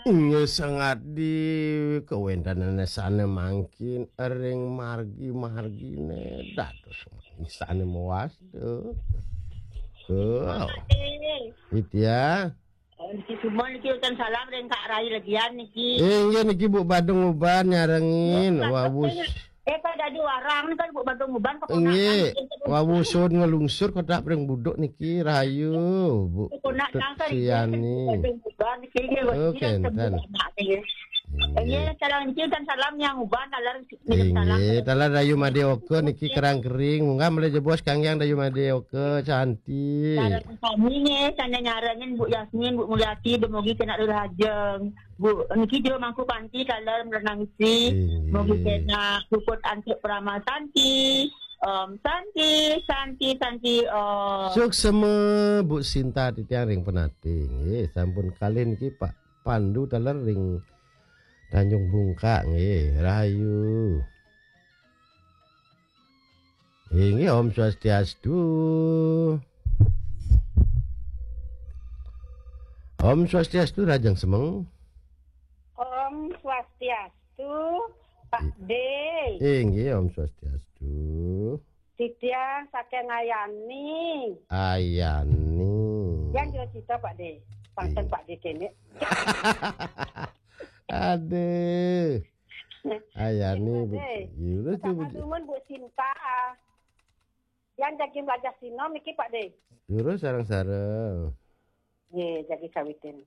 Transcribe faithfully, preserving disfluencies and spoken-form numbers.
Inggih sanget di kawéntenan sane mangkin ring margi-margine dados sane mawasta. Oh. Widya. Niki semua niki utan salam ring Kak Rai Legian niki. Inggih niki Bu Badung Uban nyarengin. Wawus. Eh, Pak Dadi Warang kan Bu Badung Uban keponakan. Inggih. Wawusun ngelungsur kotak ring buduk niki rahayu Bu Tut Suyani. Oh, kenten. Inggih, salam niki dan salam yang Uban taler. Inggih, taler Dayu Madé Oka niki kerang kering. Munggah malih jebos kanggiang Dayu Madé Oka, Santi. Sareng sami nggih, sane nyarengin Bu Yasmin, Bu Mulyati, dumugi kena rirajeng. Bu, niki jero mangku panti taler merenangsi. Inggih. Mugi kena puput antuk Parama Santi. Om Santi, Santi, Santi, Om. Suksema Bu Sinta titiang ring Penate. Nggih, sampun kalih niki Pak Pandu taler ring Tanjung Bungkak nggih, rahayu. Inggih, Om Swastiastu. Om Swastiastu, Rajang Semeng. Om Swastiastu, Pak De. Inggih, Om Swastiastu. Titiang saking Ayani. Ayani. Yang jero cita, Pak De. Pantun Pak De kene. Aduh. Ayani, Bu. Iya, udah tuh, Bu. Sama dumun, Bu Sinta. Yang jagi belajar sino niki, Pak De. Juru sareng-sareng. Nggih, jagi kawitin.